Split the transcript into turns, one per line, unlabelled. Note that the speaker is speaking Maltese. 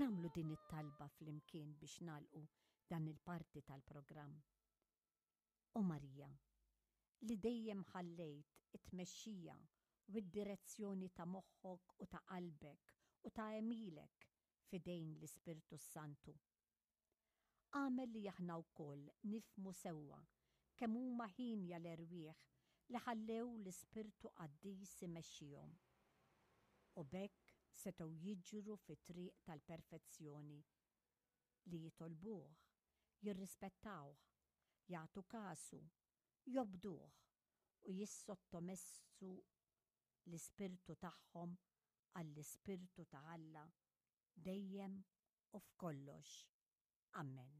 Nagħmlu din it-talba flimkien biex nagħlqu dan il-parti tal-programm. O Marija, li dejjem ħallejt it-tmexxija u d-direzzjoni ta' moħħok u ta' qalbek u ta' għemilek f'idejn l-Ispirtu s-Santu. Agħmel li aħna wkoll nifhmu sewwa kemm huma hienja l-erwieħ li ħallew l-Ispirtu Qaddis imexxihom, u b'hekk setgħu jiġru fit-triq tal-perfezzjoni, li jitolbuh, jirrispettawh, jagħtu kasu, jobduh u jissottomessu l-ispirtu tagħhom għall-Ispirtu ta' Alla dejjem u f'kollox. Ammen.